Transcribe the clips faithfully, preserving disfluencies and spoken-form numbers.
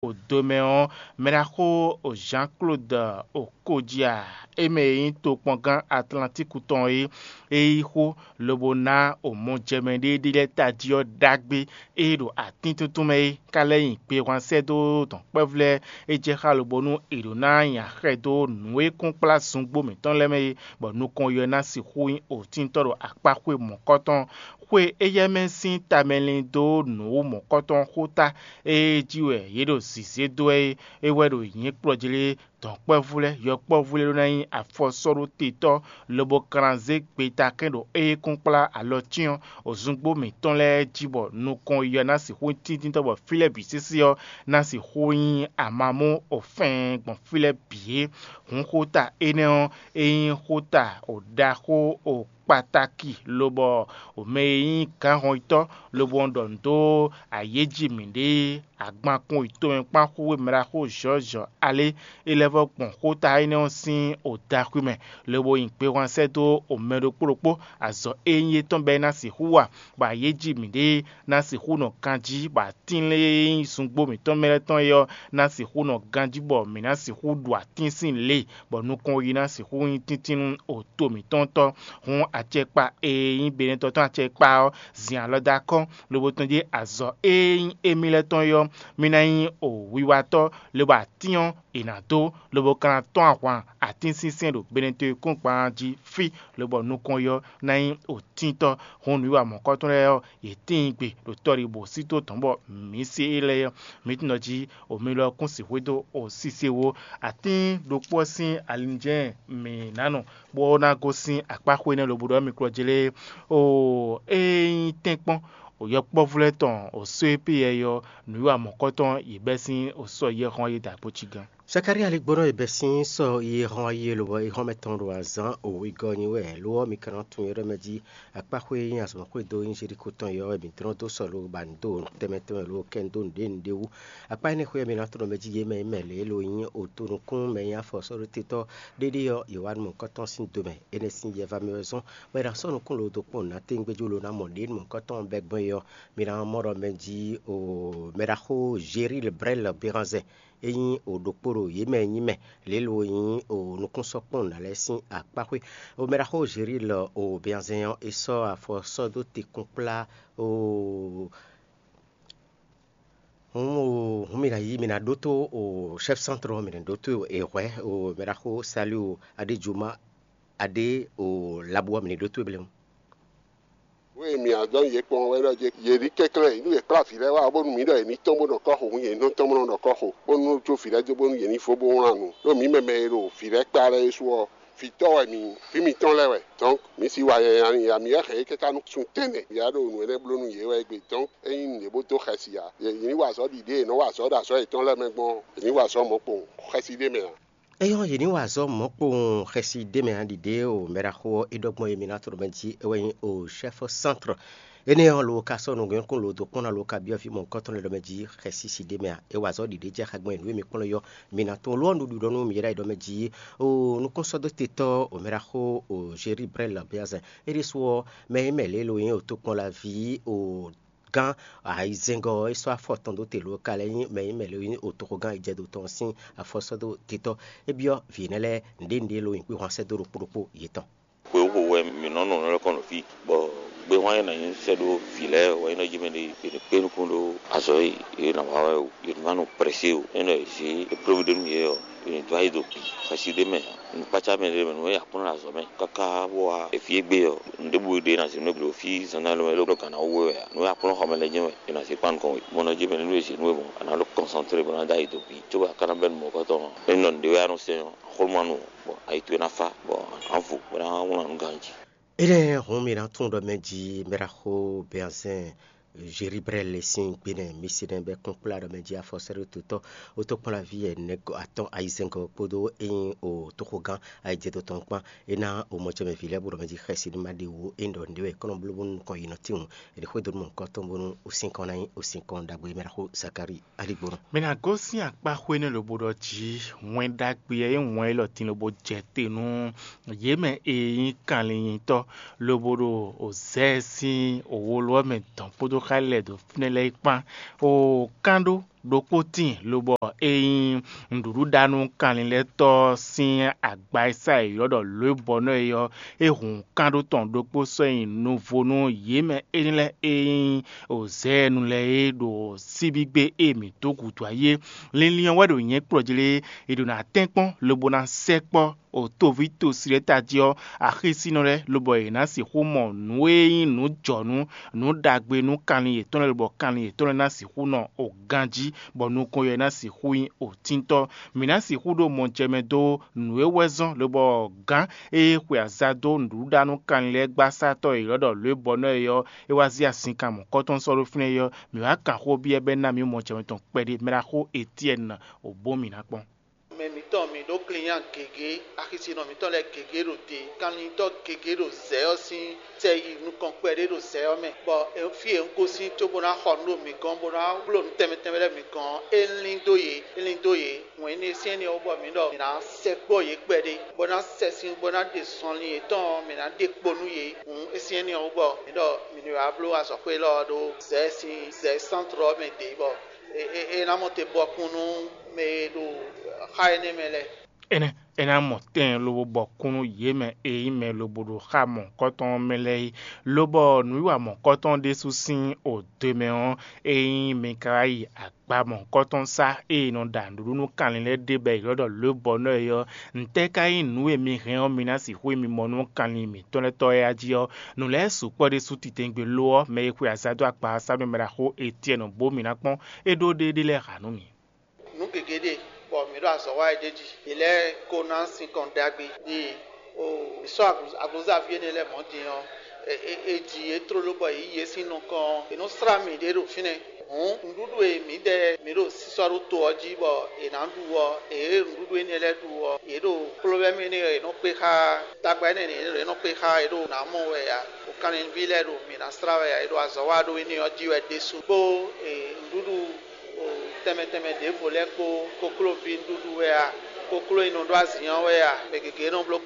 O do mɛ ɔ́, mɛɖaxó o Jean-Claude Okodia, é mɛ e nyí tokpɔngán Atlantíku tɔn é, é yí xó lobo ná o mɔjɛmɛ ɖé ɖé lɛ́ɛ tají ɔ́ ɖagbe e ɖo atíntuntun mɛ é, ka lɛ́ nyi gbehwan sɛ́ dó dɔ̌nkpɛvú lɛ́ɛ. É jɛ xá lobo nú è ɖǒ ná nyi axɛ dó nǔ e kún kplá zungbo mǐtɔn lɛ́ɛ mɛ é, bɔ nukɔn yɔ ná sixú nyí otintɔ́ ɖo akpáxwé mɔ̌kɔtɔn. Xwe éyɛ́ mɛ sín tamɛlin dó nǔ mɔ̌kɔtɔn xóta e jí wɛ yě ɖo zǐzé dó wɛ é, é wɛ ɖo nyǐkplɔ́ jí lé. Dɔ̌nkpɛvú lɛ́ɛ, yɔkpɔ́vú lɛ́ɛ ɖó ná nyí afɔsɔ́ɖótetɔ́, lobo kan ná zé gbetakɛ́n ɖo ée kún kplá alɔ cyɔ́n ozúngbó mǐtɔn lɛ́ɛ jí, bɔ nukɔn yɔ ná sixú tíntítɔ́, bɔ fí lɛ́ɛ bǐ sésé ɔ́ ná sixú nyí amamú ofɛ́n gbɔn fí lɛ́ɛ bǐ é. Hǔn xóta énɛ́ ɔ́, é nyí xóta ɖaxó kpatáki, lobɔ mɛ e nyí gǎnhɔnyitɔ́ lobo ɖɔ nǔ dó ayéjí mǐɖée agbankun yi tomɛ kpán xú e mɛɖaxó Jɔ̌jɔ alé é lɛ́ vɔ́ gbɔn xóta énɛ́ ɔ́ sín odaxwí mɛ, lobo nyi gbehwan sɛ́ dó mɛ ɖokpó ɖokpó. Azɔ̌ e nyí étɔn bɔ é ná sixú wa, bɔ ayéjí mǐɖée ná sixú nɔ ganjí, bɔ atín e nyí zungbo mǐtɔn mɛ lɛ́ɛ tɔn é ɔ́ ná sixú nɔ ganjí, bɔ mǐ ná sixú ɖu atín sín lě, bɔ nukɔn yi ná sixú nyí tíntín nú oto mǐtɔn tɔn. Hǔn acɛkpa e nyí Benɛtɔ́ tɔn acɛkpa ɔ́ zin alɔ dó akɔ́n, lobo tɔ́n jí azɔ̌ e nyí émí lɛ́ɛ tɔn é ɔ́, mì ná nyí o wiwatɔ́, lobo atín ɔ́ è nǎ dó, lobo ka ná tɔ́n ahwan atínsínsɛ́n ɖo Benɛtɔ́ e kún gban jí fí, lobɔ nukɔn yɔ ná nyí otíntɔ́. Hǔn nǔwiwa mɔ̌kɔtɔn lɛ́ɛ ɔ́, yě tíin gbe ɖo tɔ́ɖibo sí tó tɔn bɔ mǐ se é lɛ́ɛ ɔ́, mǐ tunwun ɖɔ jí o mi lɔ kún sixú dó o sise wó. Atín ɖokpó ɔ́ sín alinjɛ́n mǐ ná nɔ, bó ná gosín akpáxwé énɛ́ lobo ɖɔ mì klɔ́ jlé. Oo, ée nyí tɛ́nkpɔ́n, o yɔkpɔ́vú lɛ́ɛ tɔn o só e pí yɛ ɔ́, nǔwiwa mɔ̌kɔtɔn yě bɛ́ sín o sɔ́ yɛ́ xɔ́n yí dǎ kpó cí gán. Sakalíi aligbɔnɔ e bɛ́ sín sɔ́ yi e hɔn yi e lobɔ é hɔn mɛ tɔn ɖo azǎn wěgɔ́ nyi wɛ, lo ɔ́, mi ka nɔ tunwun é ɖɔ mɛ jí akpáxwé e nyí azɔ̌mɔxwé dó nyí Jelíko tɔn é ɔ́ wɛ mǐ tlɔ́n dó sɔ lo ba nǔ dó tɛnmɛ tɛnmɛ lo kɛ nǔ dó nǔɖé nǔɖé wú. Akpá énɛ́ xwé ɔ́, mi ná tlɔ́n mɛ jí yě mɛ e mɛ lě e lo nyí otonukún mɛ nyí afɔsɔ́ɖótetɔ́ ɖéɖé ɔ́, yě wá nú mɔ̌hunkɔtɔn sín do mɛ; énɛ́ sín yɛ vá mì wɛ zɔ́n, bɔ è nǎ sɔ́ nukún lo dó kpɔ́n nǔ ná téwúngbéjú lo ná mɔ ɖě nukɔntɔn bɛ́ gbɔn é ɔ́, mi ná mɔ ɖɔ mɛ jí o mɛɖaxó Jeríl Brɛ́l Beranzɛn, é nyí o ɖokpó ɖo yě mɛ e nyí mɛ lě lo nyí o nukúnsɔ́kpɔ́n nǔ ná lɛ́ɛ sín akpáxwé. O mɛɖaxó Jeríl o Beranzɛn ɔ́, è sɔ́ afɔ sɔ́ dó te kún kplá o hǔn o hǔn mi ná yí mi ná ɖótó o chɛ́f sántrɔ, mi ná ɖótó e hwɛ̌ o mɛɖaxó Saliu Adéjuma Adé o Labu ɔ́, mi ní ɖótó e blɛ́. Nǔ e mǐ ná dɔn yě kpɔ́n wɛ ɖɔ yě ní kɛnklɛ́n nú yě kplá vǐ lɛ́ɛ wá, bónú mǐ ɖɔ yě ní tɔ́n bó nɔ kɔ́ xo, yě ní tɔ́n bó nɔ kɔ́ xo, bónú jó vǐ lɛ́ɛ dó bónú yě ní fó bó wlán nǔ. Ɖó mǐ mɛ mɛ e ɖo vǐ lɛ́ɛ kplá lɛ́ɛ é su ɔ́, vǐtɔ́ wɛ mǐ, fí mǐtɔn lɛ́ɛ wɛ. Dɔ̌nk mǐ si wa nyanya nyi amǐ wɛ hɛn é káká nú sun tɛ́nnɛ. Mǐ wá ɖo nǔ énɛ́ bló nú yě wɛ égbé. Dɔ̌nk ényí nǔɖé bó dó xɛsi ǎ, yě ní wa azɔ̌ ɖiɖée e è nɔ wa azɔ̌ ɖo azɔ̌ yětɔn lɛ́ɛ mɛ gbɔn ɔ́, yě ní wa azɔ̌ mɔ̌kpowun xɛsi ɖé mɛ ǎ. Éyɔ́, yě ní wa azɔ̌ mɔ̌kpowun xɛsi ɖé mɛ ǎ. Ɖiɖe o mɛɖaxó ɔ́ é ɖɔ gbɔn e mi ná tlɔ́ mɛ jí é wɛ nyí o chɛ́f sántrɔ. Énɛ́ ɔ́, lo ka sɔ́ nǔgbɛ́nkún lo dó kpɔ́n ná lo ka byɔ́ vǐ mɔ̌hunkɔtɔn lɛ́ɛ ɖɔ mɛ jí xɛsi si ɖé mɛ ǎ. É wa azɔ̌ ɖiɖe jɛ xá gbɔn e nǔ e mi kplɔ́n yɔ mi ná tɔn lo ɔ́, nǔɖuɖu ɖɔ nú mi ɖɔ mɛ jí o nukúnsɔ́dótetɔ́ o mɛɖaxó o Jerí Brɛ́l Beazɛn. É ɖésú ɔ́, mɛ e mɛ lě lo nyí o tokpɔnlaví o gán ayizɛ́ngɔ́ ɔ́, é sɔ́ afɔ tɔn dó te lo ka lɛ́ nyí mɛ e mɛ lě lo nyí o toxogán ayijɛdo tɔn ɔ́ sín afɔ sɔ́ dó te tɔ́. É byɔ́ vǐ énɛ́ lɛ́ɛ nǔɖé nǔɖé lo nyi kpé hwan sɛ́ dó ɖokpó ɖokpó yětɔn. Xwe wǒ wɛ mǐ nɔ nɔ lɛ́ kɔn ɖo fí, bɔ gbéhwan e nǎ nyí sɛ́ ɖó vǐ lɛ́ɛ wɛ nyí nɔ jí mɛ ɖé è nǐ kpé nukún ɖó azɔ̌ e yě nǎ wa wɛ o. Yě ní ma nɔ prɛsé o. É nɔ è zě éprɔ́vú ɖé nú yě ɔ́, è nǐ dó ayi do bǐ xɛsi ɖé mɛ ǎ. Nǔkpácá mɛ ɖé mɛ nú é akplɔ́n azɔ̌ mɛ káká bó wá efi égbé ɔ́, nǔɖěbǔ e ɖe ná zě nú égbé ɖo fí zǎnzǎn lɔmɛ ló gǎn ná wú we wɛ ǎ. Nǔ e akplɔ́n xɔmɛ lɛ́ɛ jɛ́n wɛ è nǎ zě kpan nukɔn we. Bɔ nɔ jí mɛ nú è zě nú we mɔ̌, a nǎ ɖo kɔnsantré bó ná dó ayi do bǐ, cóbɔ a ka ná bɛ́ nú mɔ̌kɔtɔn ɔ́. É nɔ nǔɖé wɛ a nɔ sɛn ɔ́, xwlú ma nu o, bɔ ayi towe ná fá, bɔ a nǎ vo bó ná wlán nǔ ganjí. Énɛ́ hǔn mi ná tunwun ɖɔ mɛ jí mɛɖaxó Bɛnzɛ́n Zeribrɛ́li sín gbe nɛ́ mi se nɛ́ bɛ́ kún kplá ɖɔ mɛ jí afɔsɛ́ɖótɔ́, wótɔ́kplɔ́nví ɛnɛ atɔ́ɔ́n ayizɛ́ngɔ́ kpódó ényí o tóxogán ayijɛdo tɔn kpán. É ná o mɔjɛmɛ vǐ lɛ́ɛ bó ɖɔ mɛ jí xɛsi ní ma ɖe wú é ɖɔ nǔɖé wɛ kɔ́nɔ bló bónú nukɔn yi nɔ tíwun. È nǐ xwedó nú mɔ̌hunkɔtɔn bónú o sín kɔn ná nyí o sín kɔn ɖagbe e mɛ ná xó Zakalíi aligbónú. Mɛ ná gosín akpá xwé nɛ́ lobo ɖɔ jí wɛn ɖagbe e nyí wɛn élɔ́ din lobo jɛ te nú yě mɛ e nyí kanlin nyitɔ́, lobo ɖo zɛ sín wolo ɔ́ mɛ dɔn kpódó xá lɛ́ɛ ɖo fínɛ́ lɛ́ɛ kpán. O kán ɖó ɖokpó tíin, lobɔ é nyí nǔɖuɖuɖanú kanlin lɛ́ɛ tɔ́ sín agba e sá è ylɔ́ ɖɔ lǒ e bɔ nɔ́ é ɔ́, é hun kán ɖó tɔn ɖokpó sɔ́ nyi nuvo nú yě mɛ énɛ́ lɛ́ɛ e nyí zɛ̌ɛnu lɛ́ɛ é ɖo síbígbe e mǐ dó gǔdo ayé. Linlin ɔ́ wɛ ɖo nyɛ̌ kplɔ́ jí lé, è ɖo ná tɛ́nkpɔ́n lobo ná sɛkpɔ́ o toví tosi lɛ́ɛ tají ɔ́, axísínɔ lɛ́ɛ, lobɔ yě ná sixú mɔ nǔ e nyí nǔ jɔ̌nú, nǔ ɖagbe nú kanlin yětɔn lɛ́ɛ, lobɔ kanlin yětɔn lɛ́ɛ ná sixú nɔ o ganjí, bɔ nukɔn yɛ ná sixú nyí o tíntɔ́. Mǐ ná sixú ɖo mɔ jɛ mɛ dó nǔ e wɛ zɔ́n, lobɔ gǎn e xwe aza dó nǔɖuɖuɖanú kanlin lɛ́ɛ gbasátɔ́ e ylɔ́ ɖɔ lǒ e bɔ nɔ́ é ɔ́, é wá zí azinkan mɔ̌kɔtɔn sɔ́ ɖó fínɛ́ é ɔ́, mǐ wá kan xó byɔ́ bɔ é ná mǐ mɔ jɛ mɛtɔn kpɛɖé. Mɛ ɖaxó Etyɛ́ni, o bó mǐ ná kpɔ́n. Mɛ mǐtɔn, mǐ ɖó klinnyá gěgé, axisínɔ mǐtɔn lɛ́ɛ gěgé ɖo te, kanlintɔ́ gěgé ɖo zɛ̌ ɔ́ sín sɛ yi nukɔn kpɛɖé ɖo zɛ̌ ɔ́ mɛ, bɔ fí e un gosín cóbó ná xɔ nǔ ɖo mǐ gɔ́n, bó ná bló nǔ tɛnmɛ tɛnmɛ lɛ́ɛ mǐ gɔ́n ɔ́, é lín dó yě, é lín dó yě. Hǔn énɛ́ sín énɛ́ ɔ́ wú bɔ mǐ ɖɔ mǐ ná sɛkpɔ́ yě kpɛɖé, bó ná sɛ sín, bó ná ɖe zɔnlin yětɔn ɔ́, mǐ ná ɖe kpo nú yě. Hǔn é sín énɛ́ ɔ́ wú bɔ mǐ ɖɔ mǐ ní wá bló azɔ̌xwé élɔ́ ɔ́ ɖó zɛ̌ sín zɛ̌ sántrɔ ɔ́ mɛ ɖě, bɔ é é é ná mɔ te bɔkun nú mɛ e ɖo xá énɛ́ mɛ lɛ́ɛ. Énɛ́ é ná mɔ tɛn lobo bɔ kún nú yě mɛ e nyí mɛ lobo ɖo xá mɔ̌hunkɔtɔn ɔ́ mɛ lɛ́ɛ é, lobɔ nǔwiwa mɔ̌hunkɔtɔn ɖésú sín odwe mɛ ɔ́, é nyí mi ka wá yi agba mɔ̌hunkɔtɔn sá e è nɔ ɖa nǔɖuɖu nú kanlin lɛ́ɛ ɖe bɔ è ylɔ́ ɖɔ lǒ bɔ nɔ́ é ɔ́, ntɛ́ ka nyí nǔ e mi hɛn ɔ́, mi ná sixú yi mi mɔ nú kanlin mǐtɔn lɛ́ɛ tɔ́ é a jí ɔ́? Nǔ lɛ́ɛ sukpɔ́ ɖésú titewungbe lo ɔ́, mɛ e xwe aza dó akpa ɔ́ sá nú mɛ ɖaxó Etyɛ́ni bó mǐ ná kpɔ́n é ɖó ɖéeɖée lɛ́ɛ ha nú mì. Nǔ gěgé ɖe, bɔ mǐ ɖo azɔ̌ wa wɛ d'é jí. Mǐ lɛ́ɛ ko ná sinkɔn ɖagbe ɖi o mǐ sɔ́ aglǔzaví énɛ́ lɛ́ɛ mɔ̌ din ɔ́, è ji yě tlóló bɔ è yí yě sín nukɔn ɔ́, è nɔ slá mǐ ɖě ɖo fínɛ́. Hǔn nǔɖuɖu e mǐdɛɛ mǐ ɖo sísɔ́ ɖó to ɔ́ jí bɔ è nǎ ɖu ɔ́, è nǔɖuɖu énɛ́ lɛ́ɛ ɖu ɔ́, yě ɖo kplɔ́vɛ́mɛ énɛ́ e è nɔ kpé xá, tagba énɛ́ e è nɔ kpé xá, yě ɖo nǎ mɔ wɛ ǎ. Ɖo kanlin lɛ́ɛ ɖo mǐ ná slá wɛ ǎ, è ɖo azɔ̌ wa ɖó énɛ́ ɔ́ jí wɛ ɖésú. Kpó nǔɖuɖu tɛnmɛ tɛnmɛ ɖěvo lɛ́ɛ kpó, koklóví nǔɖuɖu wɛ a, kokló e nɔ ɖó azǐn ɔ́ wɛ a, mɛ gěgé nɔ bló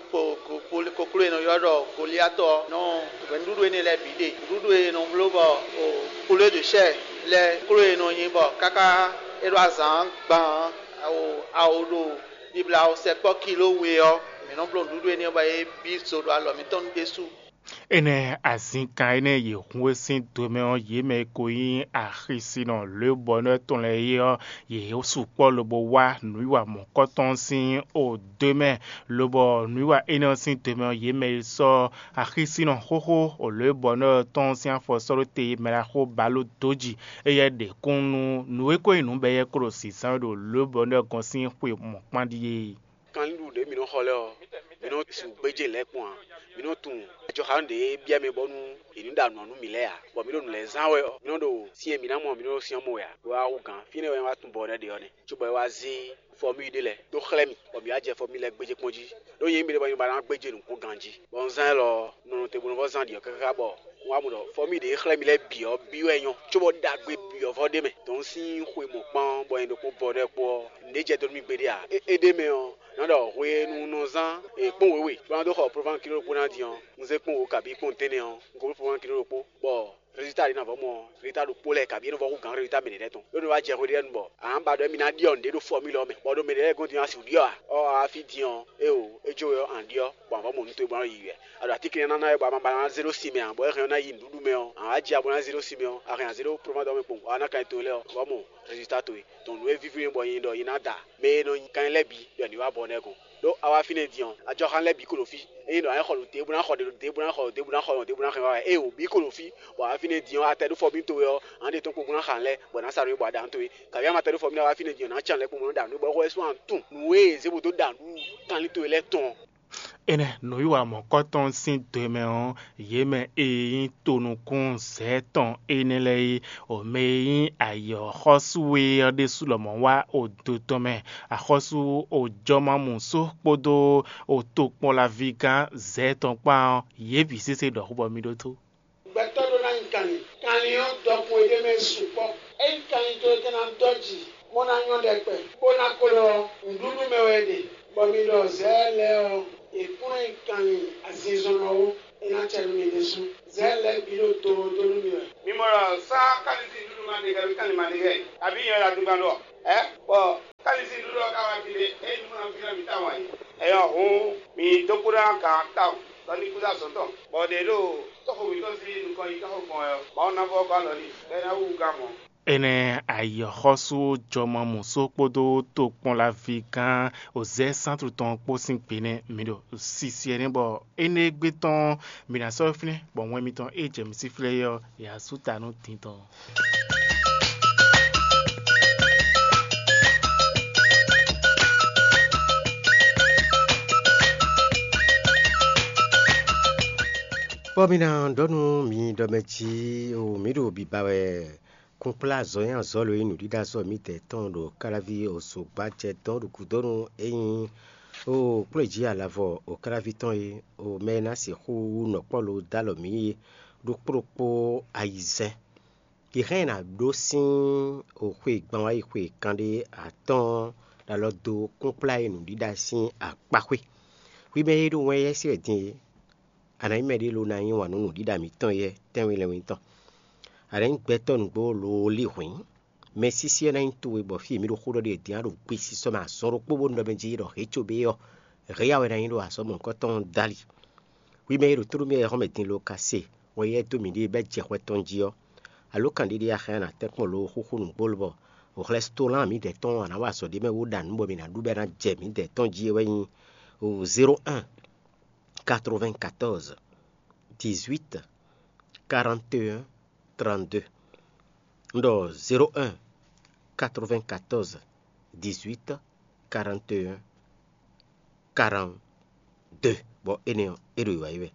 kokló e nɔ ylɔ́ ɖɔ Goliatɔ ɔ́ nɔ hwɛ̌ nǔɖuɖu énɛ́ lɛ́ɛ bǐ ɖe. Nǔɖuɖu e nɔ bló bɔ kplé ɖo sɛ́ lɛ́ɛ, kokló e nɔ nyi bɔ káká é ɖó azǎn gban awo ɖo bibla sɛkpɔ́ kiló we ɔ́, mǐ nɔ bló nǔɖuɖu énɛ́ bɔ é bí zo ɖo alɔ mǐtɔn nu ɖésú. Énɛ́ azinkan énɛ́ e yě hun é sín do mɛ ɔ́, yě mɛ e ko nyí axisínɔ lěbɔnú tɔn lɛ́ɛ é ɔ́, yě sukpɔ́ lobo wá nǔwiwa mɔ̌kɔtɔn sín odwe mɛ, lobɔ nǔwiwa énɛ́ ɔ́ sín do mɛ ɔ́, yě mɛ e sɔ́ axisínɔ xóxó lěbɔnú tɔn sín afɔ sɔ́ ɖó te mɛ ɖaxó Baló dó jǐ. Éyɛ́ ɖe kún nú nǔ e ko nyí nǔ bɔ éyɛ́ ko ɖo zǐnzán wɛ ɖo lěbɔnú gɔ́n sín xwe mɔ̌kpán ɖíe. Kanlin ɖu ɖě mǐ nɔ xɔ lɛ́ɛ ɔ́, mǐ nɔ su gbéjé lɛ̌ kpɔ́n ǎ. Mǐ nɔ tunwun ajɔxanú ɖě e byɔ́ mɛ bónú è nǐ ɖa nǔ ɔ́ nú mǐ lɛ́ɛ ǎ, bɔ mǐ ɖo nǔ lɛ́ɛ zán wɛ ɔ́, mǐ nɔ ɖo syɛ́n e mǐ ná mɔ ɔ́, mǐ nɔ ɖo syɛ́n mɔ wɛ ǎ. Lo wá hú gǎn, fínɛ́ wɛ é wá tunwun bɔ énɛ́ ɖe ɔ́ nɛ́, cóbɔ é wá zé fɔ́míyi ɖé lɛ́ɛ dó xlɛ́ mì, bɔ mǐ wá jɛ fɔ́míyi lɛ́ɛ gbéjé kpɔ́n jí. Ɖó nyɛ nyí mɛ ɖé bɔ nyɛ ba ná gbéjé nǔkpɔ́n ganjí. Bɔ un zán élɔ́ ɔ́, un nɔ nɔ te bo nɔ vɔ́ zán ɖi ɔ́ káká bɔ un wá mɔ ɖɔ fɔ́míyi ɖě e xlɛ́ mì lɛ́ɛ bǐ ɔ́, byɔ́ wɛ nyɔ́, cóbɔ ɖagbe bǐ ɔ́ vɔ́ ɖ'é mɛ. Dɔn sín xwe mɔ̌kpán bɔ nyɛ ɖokpó bɔ ɖɛ́ kpó ɔ́, nǔɖé jɛ dó nú mì gbeɖé ǎ. É é ɖ'é mɛ ɔ́, nǎ ɖɔ hwenu un nɔ zán kpɔ́n wěwe bó ná dó xɔ prován kiló ɖokpó ná din ɔ́, un zé kpɔ́n wǒ kabǐ kpɔ́n tɛ́nnɛ ɔ́, un ko bló prován kiló ɖokpó, bɔ résultat ɖě nɔ vɔ́ mɔ résultat ɖokpó lɛ́ɛ kabǐ é nɔ vɔ́ hú gǎn résultat mɛ ɖě lɛ́ɛ tɔn. Ɖó nɔ wá jɛ hwenu ɖé nu bɔ ǎ ba ɖɔ émí ná ɖyɔ́ nǔɖé ɖo fɔ́mílɔ mɛ, bɔ ɖo mɛ ɖě lɛ́ɛ gɔ́n din ɔ́, a sixú ɖyɔ́ ǎ. Ɔ́, a wá fí din ɔ́, éeǒ, é jó we ɔ́, a nǎ ɖyɔ́, bɔ a vɔ́ mɔ nǔ towe bó ná yi wɛ. A ɖo atínkɛn ná ná wɛ bɔ a ma ba ná zé ɖó sin mɛ ǎ, bɔ é hɛn ɔ́ ná yi nǔɖuɖu mɛ ɔ́, a wá jɛ abo ná zé ɖó sin mɛ ɔ́, a hɛn a zé ɖó prován dɔn mɛ kpowun, bɔ a ná kan nyi towe lɛ́ɛ ɔ́, a vɔ́ mɔ résultat towe. Dɔn nǔ e víví n'i bɔ nyɛ ɖɔ nyɛ ná da mɛ e nɔ nyi kanlin lɛ́ɛ bǐ ɖɔ ní wá bɔ nɛ́ gɔ́n. Ɖó a wá fínɛ́ din ɔ́, ajɔxán lɛ́ɛ bǐ ko ɖo fí. Ényí ɖɔ a nyǐ xɔ nǔ ɖěbǔ ná xɔ ɖě ɖěbǔ ná xɔ ɖěbǔ ná xɔ ɖěbǔ ná xɔ ɖěbǔ ná xɔ ɔ́, éeǒ, bǐ ko ɖo fí, bɔ a wá fínɛ́ din ɔ́, a tɛ ɖó fɔ́mí towe ɔ́, a nǎ ɖe tɔ́n kpowun bó ná xa nǔ lɛ́ɛ, bɔ è nǎ sa nǔ é bɔ a ɖa nǔ towe. Kabi a ma tɛ ɖó fɔ́mí ná wá fínɛ́ din ɔ́, nǎ can lɛ́ɛ kpowun bó nɔ́ ɖa nǔ é, bɔ é xɔ wɛ sú a nɔ tunwun nǔ e è zě bó dó ɖa nǔ kanlin towe lɛ́ɛ tɔn ɔ́. Énɛ́ nǔwiwa mɔ̌kɔtɔn sín do e mɛ ɔ́, yě mɛ e nyí tonukún zɛ̌ tɔn énɛ́ lɛ́ɛ é, o mɛ e nyí ayǐ ɔ́ xɔ́sú we ɔ́ ɖésú lɔmɔ̌ wá odo tɔn mɛ. Axɔ́sú ojɔ́mamǔ só kpódó otokpɔ́nlavígán zɛ̌ tɔn kpán ɔ́, yě bǐ sésé ɖɔ xó bɔ mì ɖótó. Gbɛtɔ́ ɖó ná nyi kanlin. Kanlin ɔ́, dɔkun e ɖ'é mɛ sukpɔ́. Ényí kanlin towe ka ná dɔ́ jǐ, bó ná nyɔ́ ɖɛkpɛ, bó ná klo ɔ́, nǔɖuɖu mɛ wɛ é ɖe, bɔ mi ɖɔ zɛ̌ lɛ́ɛ ɔ́, è kplɔ́n nyi kanlin azinzɔnnɔ ó; é ná cɛ nú mi ɖésú. Zɛ̌ lɛ́ɛ bǐ ɖo tlóló nú mì wɛ. Mi mɔ ɖɔ sá kálísí nǔɖuɖu ma ɖe hɛ, mǐ kan lǐ ma ɖe hɛ, abǐ nyɛ wɛ ɖo adungban ɖɔ ɛ? Bɔ kálísí nǔɖuɖu ɔ́ ka wá ví ɖé, ényí nǔ ma ví ná mǐ tawun ǎ é. Ɛyɔ hǔn, mǐ dó kú ná gǎn tawun, lɔ ní kú dó azɔ̌ tɔn, bɔ ɖě ɖo tɔ́xo mǐtɔn sín nukɔn yi káxo gbɔn wɛ ɔ́, Mawu ná vɔ́ gɔ́ alɔ n'i, bɔ é ná wú gǎn mɔ̌. Énɛ́ ayǐxɔ́sú jɔmɔmǔsó kpódó tokpɔnlaví gán Ozɛ́ Sántu tɔn kpó sín gbe nɛ́ mi ɖo sisyɛ nɛ́, bɔ énɛ́ gbe tɔn mi ná sɔ́ fínɛ́, bɔ wɛn mitɔn e jɛ mi sí flɛ́ é ɔ́, è wǎ sú ta nú din tɔn. Bɔ mi ná ɖɔ nú mi ɖɔ mɛ jí o, mǐ ɖo biba wɛ kúnkplá azɔ̌ nyí azɔ̌ lo e nǔɖiɖa sɔ́ mǐdɛɛ tɔn ɖo káláví ozogbájɛ dɔn ɖo gǔdo nú é nyí o kplɔ́njí alavɔ o káláví tɔn é, o mɛ e ná sixú nɔ kpɔ́ lo dó alɔ mǐ é ɖokpó ɖokpó ayizɛ́n. Yi hɛn ná ɖó sín o xwe gban wá yi xwe kanɖé atɔ́ɔ́n ɖo alɔ dó kúnkplá e nǔɖiɖa sín akpaxwé. Hwi mɛ e ɖo wɛn yɛ́ sí wɛ din é, a nǎ nyí mɛɖé lo ná yí wǎn nú nǔɖiɖa mǐtɔn yɛ́ tɛ́nwe lɛ́nwe tɔn. A nǎ nyí gbɛtɔ́ nǔgbó lo lí hwǐn. Mɛsísí ɔ́ ná nyí towe bɔ fí e mǐ ɖo xó ɖɔ ɖe din á ɖo gbesisɔ mɛ azɔn ɖokpó bónú ɖɔ mɛ jí ɖɔ hě cóbé ɔ́, hě ya wɛ ná nyí ɖo azɔ̌ mɔ̌hunkɔtɔn dó ali. Hwi mɛ e ɖo tónú mì wɛ xɔ́mɛ din lo ka se wɛn yɛ́ dó mǐɖée bɛ́ jɛ xwɛ tɔn jí ɔ́, alǒkanɖéɖé axɛ́ ná tɛ́nkpɔ́n lo xúxú nǔgbó lobɔ hwlɛ́stolán mǐdɛɛ tɔn a nǎ wa azɔ̌ ɖé mɛ wú ɖa nǔ bɔ mǐ ná ɖu bɔ é ná jɛ mǐdɛɛ tɔn jí é wɛ nyí zéro un quatre-vingt-quatorze dix-huit quarante et un trente-deux. Un ɖɔ zéro un quatre-vingt-quatorze dix-huit quarante et un quarante-deux, bɔ énɛ́ ɔ́, é ɖo wǐwá yi wɛ.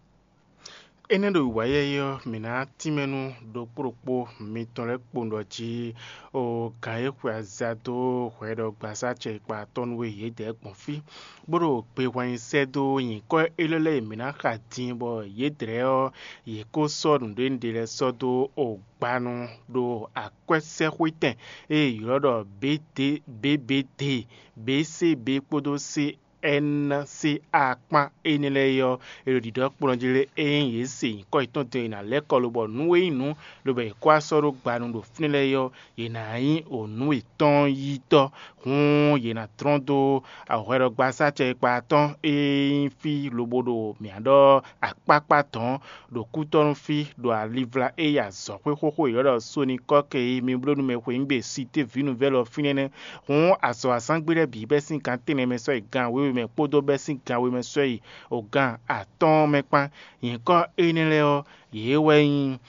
Énɛ́ ɖo wǐwá yi ɔ́, mǐ ná tínmɛ nú ɖokpó ɖokpó mitɔn lɛ́ɛ kpowun ɖɔ jí o gǎn e xwe aza dó hwɛɖɔgbasá acɛ e kpa atɔ́ nú we yědɛɛ gbɔn fí, bó ɖo gbe hwɛnyi sɛ́ dó nyǐkɔ élɔ́ lɛ́ɛ e mǐ ná xa din bɔ yědɛɛ ɔ́, yě kó sɔ́ nǔɖénúɖé lɛ́ɛ sɔ́ dó o gbanu ɖo akwɛ́sɛ́xwétɛn e è ylɔ́ ɖɔ B D, B B D, B C B kpódó C N C A kpán énɛ́ lɛ́ɛ é ɔ́, è ɖo ɖiɖɔ kplɔ́n jí lé? Ényí yě se nyǐkɔ yětɔn din ɔ́, è nǎ lɛ́ kɔ lobɔ nǔ e nyí nǔ lobɔ è kó wá sɔ́ ɖó gbanu ɖo fínɛ́ lɛ́ɛ é ɔ́, yě ná nyí o nǔ yětɔn yítɔ́. Hǔn yě ná dlɔ́n dó hwɛɖɔgbasá acɛ e kpa atɔ́ɔ́n e nyí fí lobo ɖo mǐ ná ɖɔ akpákpá dɔ̌n ɖo kútɔ́nú fí, ɖo alivla e yi azɔ̌xwé xóxó e è ylɔ́ ɖɔ Sonikɔ́ki é, mi bló nú mɛ xweyǐgbe Sité Vǐnuvɛ́lɔ fínɛ́ nɛ́. Hǔn azɔ̌ azán gbe lɛ́ɛ bǐ bɛ́ sín gan tɛ́nnɛ mɛ sɔ́ yi gan wěwe mɛ kpódó bɛ́ sín gan we mɛ sɔ́ yi o gan atɔ́ɔ́n mɛ kpán. Nyǐkɔ énɛ́ lɛ́ɛ ɔ́, yě wɛ nyí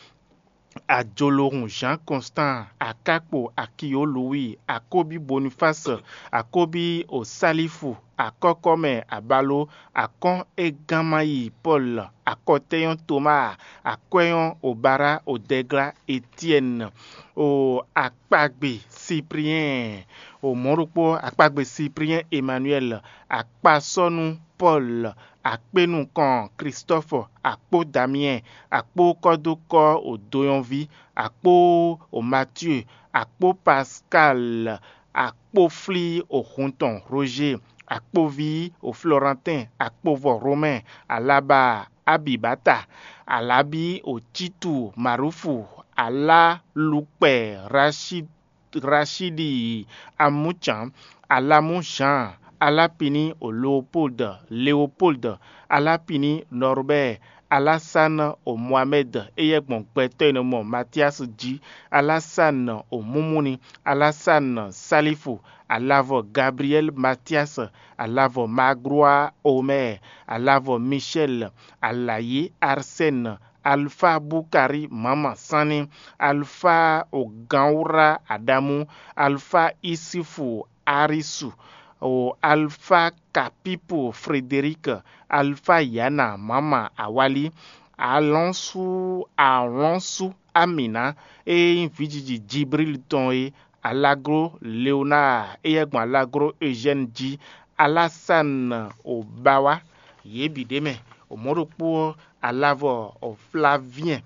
Ajolohun Jean Constant, Akákpo Akiyo Louis, Akóbí Boniface, Akóbí Osálífu, Akɔ́kɔ́mɛ Abaló, Akɔ́n Eganmayi Paul, Akɔtɛ́nyɔ́ Thomas, Akwɛ́nyɔ́ Obara, Odɛglá Etienne, o Akpagbe Cyprien, o mɔ̌ ɖokpó Akpagbe Cyprien Emmanuel, Akpasɔ́nú Paul, Akpénukɔn Christophe, Akpó Damien, Akpó Kɔ́dókɔ́ o Doyɔnví, Akpó o Mathieu, Akpó Pascal, Akpóflí o Huntɔn Roger, Akpóví o Florentin, Akpóvɔ Romain, Alaba Abibata, Alábí o Títu Marufu, Alálukpɛ Rachid Rachidi Amúcǎn, Alamú Jean, Alápiní o Leopold, Leopold, Alápiní Norbert, Alásán o Mohamed, éyɛ́ gbɔn gbɛtɔ́ e nɔ mɔ Matías jí, Alásán o Mumuni, Alásán Salifu, Alavɔ Gabriel Matías, Alavɔ Magloire Omer, Alavɔ Michel, Alayi Arsène, Alfa Bukari Mama Sanni, Alfa o Ganwura Adamu, Alfa Isifu Arisu, o Alfa Kapipu Frederic, Alfa Yana Mama Awali, Alɔnsu Alɔnsu Amina, e nyí vǐjiji Jibril tɔn é, Alaglo Leonard, éyɛ́ gbɔn Alaglo Eugène jí, Alásane Obawa, yě bǐ ɖ'é mɛ. O mɔ̌ ɖokpó ɔ́, Alavɔ Flavien,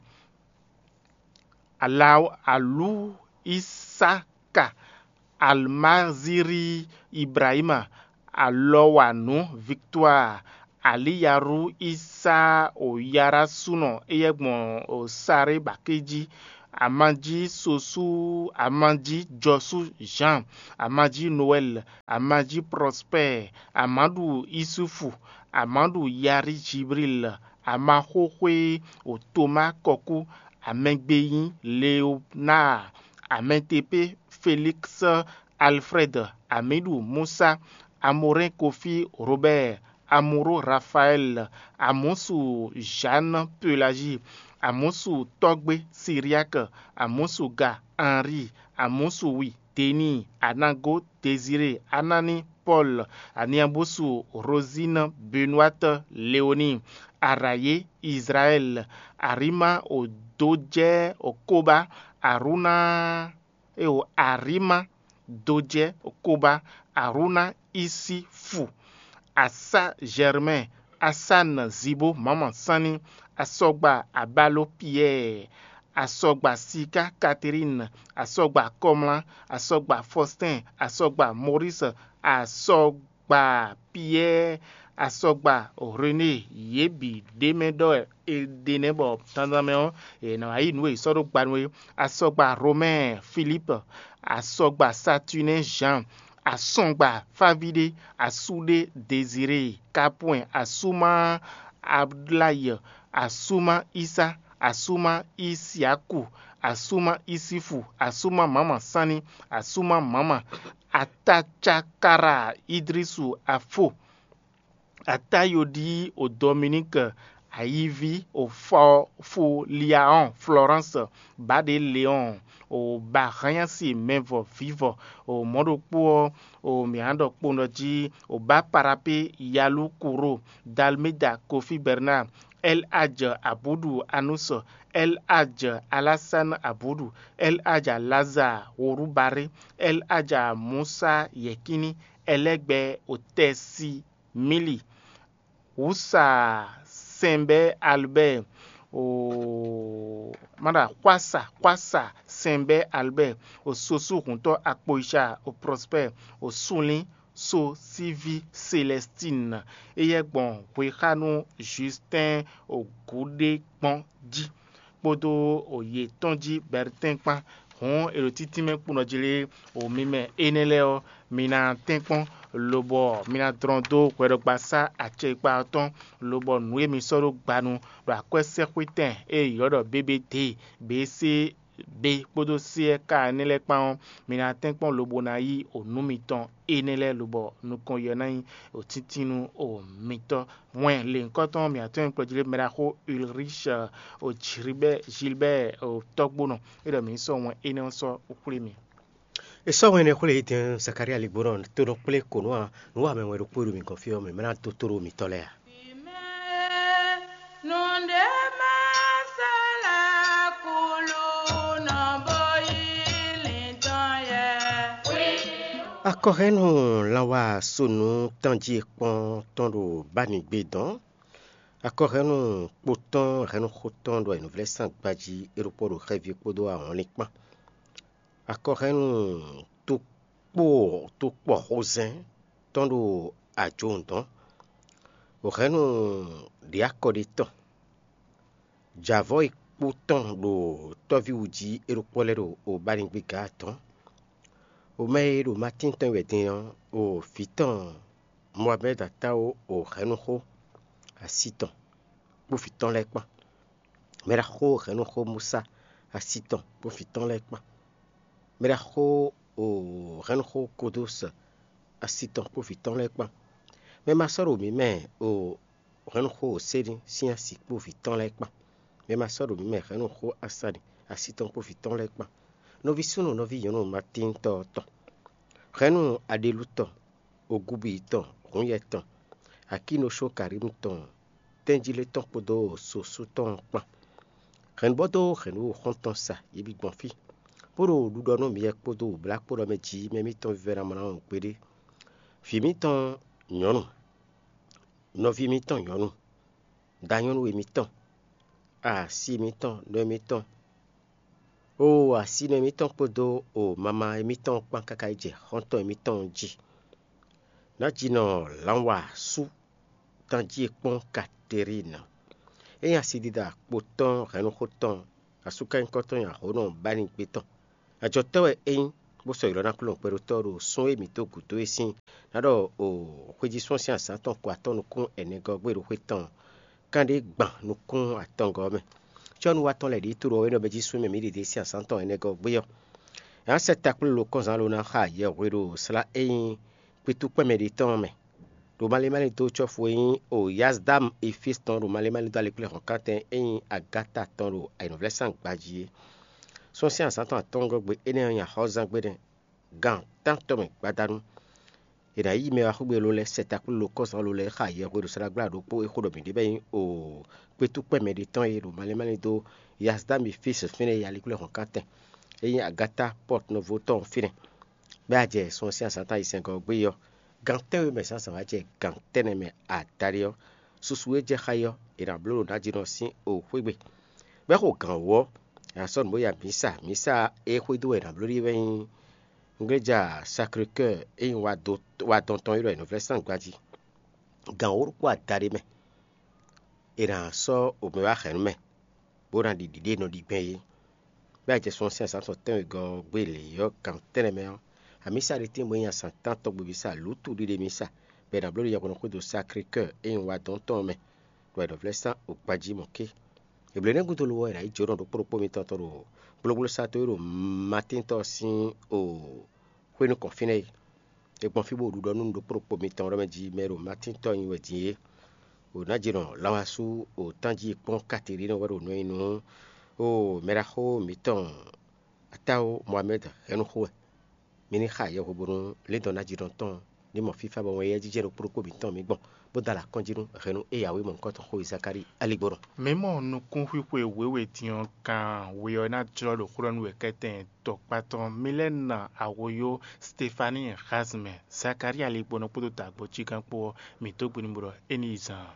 Ala Alu Isaka, Almaziri Ibrahima, Alɔwanu Victoire, Aliyaru Isa Oyarasúnɔ éyɛ́ gbɔn Sarébaké jí, Amají Sosú, Amají Jɔsú Jean, Amají Noɛl, Amají Prospère, Amaɖu Isufu, Amaɖu Yari Jibril, Amaxóxwé Toma Kɔkú, Amɛgbeyín Leonard, Amɛtepé Félix, Alfred, Amiɖu Musa, Amorɛn Kofi Robert, Amuro Rafael, Amusu Jeanne Pelagie, Amusu Tɔgbe Cyriaque, Amusu Ga Henri, Amusu Wi Denis, Anago Désiré, Anani Paul, Aniabusu Rosine, Benoîte Léonie, Araye Israël, Arima Odojɛ Okoba, Aruna eo Arima Dojɛ Koba, Aruna Isifu, Asa Germain, Asan Zibo Mama Sanni, Asɔgba Abalo Pierre, Asɔgba Sika Catherine, Asɔgba Kɔmla, Asɔgba Faustin, Asɔgba Maurice, Asɔgba Pierre, Asɔgba René, yě bǐ ɖ'é mɛ ɖɔ è ɖe nɛ́ bɔ dandan mɛ ɔ́, è nǎ wá yí nǔ e è sɔ́ ɖó gba nú é. Asɔgba Romain Philippe, Asɔgba Saturnin Jean, Asɔgba Favidé, Asúɖé Désiré, Kapwɛn, Asúma Ablaye, Asúma Isa, Asúma Isiaku, Asúma Isifu, Asúma Mama Sanni, Asúma Mama, Atacakara Idrisu Afo, Atayodi o Dominique, Ayivi o Fo- Foliaon Florence, Baɖe Léon, o Bahanyasi Mɛvɔ Vivɔ, o mɔ̌ ɖokpó ɔ́, o mǐ nǎ ɖɔ kpowun ɖɔ jí, o Baparapé Yalu Kuro, Dalmeda Kofi Bernard, El Hadj Abudu Anus, El Hadj Alassane Abudu, El Hadj Lazare Worubaré, El Hadj Musa Yɛkini, Ɛlɛgbɛ Otɛsi Mili, Wusa Sɛnbɛ Albert, o mana Xwasa Xwasa Sɛnbɛ Albert, o Sosu Huntɔ Akpoyica, o Prosper, o Sunlin So síví Celestine, éyɛ́ gbɔn hwexánu Justin Ogúɖé gbɔn jí, kpódó yětɔn jí Bɛrtɛ́n kpán. Hǔn è ɖo títínmɛ kpónɔ jí lé, o mi mɛ énɛ́ lɛ́ɛ ɔ́, mi ná tɛ́nkpɔ́n, lobɔ mi ná dlɔ́n dó hwɛɖɔgbasá acɛkpa ɔ́ tɔn, lobɔ nǔ e mi sɔ́ ɖó gbanu ɖo akwɛ́sɛ́xwetɛn e è ylɔ́ ɖɔ bébédé, běsé bé kpódó séɛ́ká énɛ́ lɛ́ɛ kpán ɔ́, mi ná tɛ́nkpɔ́n lobo ná yí o nǔ mitɔn énɛ́ lɛ́ɛ lobɔ nukɔn yɔ ná nyí o tíntínnú o mitɔn. Wɛn lěhunkɔtɔn mǐtɔn e kplɔ́ jí lé mɛ ɖaxó Ulrich o Gilbert Gilbert o tɔ́gbónɔ é ɖɔ mǐ ní sɔ́ wɛn énɛ́ ɔ́ sɔ́ xwlé mi. È sɔ́ wɛn énɛ́ xwlé yi dɛn Zakalía ligbónɔ tó nɔ kplé kǒnɔ ǎ. Nǔ wa mɛ wɛ ɖokpó e ɖo mǐ gɔ́n fí ɔ́, mǐ mɛ ná dó tóɖó mitɔ́ lɛ́ɛ a? Nǔɖé má sɔ́ lɛ́ kúlú nɔ bó yí lǐndɔn yɛ. Akɔhɛ́nnu lanwá sonu tánjí kpɔ́n tɔn ɖo bánigbe dɔn. Akɔhɛ́nnu kpo tɔn hɛ̌nnu xó tɔn ɖo ayǐnúvlɛ́sán gbají é ɖokpó ɖo xɛví kpódó ahɔnlin kpán. Akɔhɛ́nnu tokpó tokpɔxozɛ́n tɔn ɖo ajǒhún dɔn. Hɛ̌nnu ɖě akɔ ɖé tɔn. Jǎvɔ́ e kpó tɔn ɖo tɔ́ví wú jí é ɖokpó lɛ́ɛ ɖo o bánigbe gǎ atɔ́ɔ́n. O mɛ e ɖo Matín tɔn wɛ din ɔ́, o vǐ tɔn Mɔabɛ́d Atáwo o hɛ̌nnuxó asi tɔn kpó vǐ tɔn lɛ́ɛ kpán. Mɛ ɖaxó hɛ̌nnuxó Musa asi tɔn kpó vǐ tɔn lɛ́ɛ kpán. Mɛ ɖaxó o hɛ̌nnuxó Kodós asi tɔn kpó vǐ tɔn lɛ́ɛ kpán. Mɛ ma sɔ́ ɖo mǐ mɛ o hɛ̌nnuxó Oséni sín asi kpó vǐ tɔn lɛ́ɛ kpán. Mɛ ma sɔ́ ɖo mǐ mɛ hɛ̌nnuxó Asani asi tɔn kpó vǐ tɔn lɛ́ɛ kpán. Nɔví súnnu nɔví nyɔ̌nu Matíntɔ́ tɔn. Hɛ̌nnu Aɖelu tɔn, Ogubi tɔn, Hǔnyɛ tɔn, Akínoshó Karímu tɔn, tɛ́njílé tɔn kpódó sosú tɔn kpán. Hɛ̌nnu bɔ dó hɛ̌nnu xɔ́ntɔn sa, yě bǐ gbɔn fí, bó ɖo ɖiɖɔ nú miyɛ kpódó wǔblá kpó ɖɔ mɛ jí mɛ mitɔn vívɛ́ná mlá ɔ́ gbeɖé. Vǐ mitɔn nyɔ̌nu, nɔví mitɔn nyɔ̌nu, danyɔ́nú e mitɔn, asi mitɔn, nɔ e mitɔn, oo asi nɔ e mitɔn kpódó o mama e mitɔn kpán káká yi jɛ xɔ́ntɔn e mitɔn jí. Nǎjínɔ lǎnwasú Tanjí e kpɔ́n Katerína. É nyí asidida kpo tɔn hɛ̌nnuxó tɔn, asúkanyíkɔ tɔn nyi ahǒnɔ bánigbe tɔn. Ajɔtɔ́ wɛ é nyí, bó sɔ́ ylɔ́ ná kplɔ́n kpɛɖótɔ́ ɖo sún e mǐ dó gǔdo é sín ná ɖɔ o xwejísɔ́n sín azǎn tɔn ko atɔ́ nukún ɛnɛgɔ́ gbé ɖo xwé tɔn kanɖé gban nukún atɔngɔ́ ɔ́ mɛ. Cɔ́nuwa tɔn lɛ́ ɖíe tló ɔ́ é nɔ bɛ́ jí sú mɛ mǐ ɖě ɖe sín azǎn tɔn ɛnɛgɔ́ gbé ɔ́. Ǎ sɛ́ takplúlo kɔ́nzán lo ná xa yɛhwe ɖo slá e nyí kpítukpɛ́ mɛ ɖé tɔn ɔ́ mɛ. Ɖo malín malín dó cɔ́fu e nyí o Yazdam Efis tɔn ɖo malín malín dó alekplɛ́hɔ̌nkántɛn e nyí Agáta tɔn ɖo ayǐnɔvlɛ́sán gbají é. Sɔ́ sín azǎn tɔn atɔngɔ́ gbe énɛ́ ɔ́ nyi axɔ́zán gbe nɛ́. Gan tántɔn mɛ gbadanu. È nǎ yí mɛ wá xwé gbe lo lɛ́ɛ sɛ́ takplúlo kɔ́zán lo lɛ́ɛ xa yɛhwe ɖo saɖagbla ɖokpó e xó ɖɔ mǐ ɖe bɔ é nyí o kpétúkpɛ́ mɛ ɖé tɔn e ɖo malín malín dó Yazdam Efis fínɛ́ e alekplɛ́hɔ̌nkántɛn e nyí Agáta Pɔ́t Novo tɔn fínɛ́. Bɛ́ a jɛ sun ɔ́ sín azǎn tɔn ayizɛ́ngɔ́ ɔ́ gbé ɔ́, gan tɛ́nwe mɛ zǎnzǎn wá jɛ gan tɛ́nnɛ mɛ adaɖé ɔ́, susu e jɛ xá é ɔ́, è nǎ bló ɖo nǎjínɔ sín o xwé gbe. Bɛ́ xo gǎn wú ɔ́, è nǎ sɔ́ nǔ bó ya mǐsa. Mǐsa e xwedó wɛ è nǎ bló ɖe wɛ nyí ngléja Sacré-Cœur e nyí wa dɔn tɔn e ɖɔ è nɔ vlɛ́ sín agba jí. Gǎn wǒ ɖokpó adaɖé mɛ, è nǎ sɔ́ omɛ wá hɛ̌nnu mɛ, bó ná ɖi ɖiɖée e nɔ ɖi gbɛn é. Bɛ́ a jɛ sun ɔ́ sín azǎn tɔn tɛ́nwegɔ́ ɔ́ gbé lě ɔ́, gan tɛ́nnɛ mɛ ɔ́, amǐsa ɖé tɛ́nwe bó nyí azǎn tántɔn gbebísa lǔtu ɖiɖe mísa, bɔ è nǎ bló ɖo yɛhweɖɔxwédo Sacré-Cœur e nyí wa dɔn tɔn ɔ́ mɛ, ɖo ayǐɖɔvlɛ́sán ogbají mɔ̌ ké. Eblénɛ́ gúdo lo ɔ́, è nǎ yi jǒnɔ ɖokpó ɖokpó mitɔn tɔn ɖo gblógblósatɔ́ e ɖo Matín tɔn sín o xwé nukɔn fínɛ́ é. È gbɔn fí bó ɖiɖɔ nú ɖokpó ɖokpó mitɔn ɖɔ mɛ jí mɛ e ɖo Matín tɔn nyi wɛ din é. O nǎ jǐnɔ Lanwasú o tánjí e kpɔ́n Katerín wɛ ɖo nɔ nyi nú o mɛɖaxó mǐtɔn Atáwo Mohamɛ́d hɛn nú xó wɛ. Mi ní xa yɛhweɖónú Lindɔn ná jínɔ tɔn ní mɔ fífá bɔ wɛn yɛ́ jijɛ ɖokpó ɖokpó mǐtɔn mǐ gbɔn, bó dó alɔ akɔ́njí nú hɛ̌nnu e yǎwe mɔ̌hunkɔtɔn xó e Zakalíi aligbɔnɔ. Mǐ mɔ nukúnxwixwe wěwe din ɔ́ kan we ɔ́ ná jlɔ́ ɖo xó ɖɔ nú wɛ kɛ́tɛn tɔkpá tɔn. Mi lɛ́ na ahoyó Stefani Xazmɛ, Zakalíi aligbɔnɔ kpódó dǎgbɔ́ cígán kpó ɔ́, mǐ dó gbe nú bó ɖɔ é ní yi zan.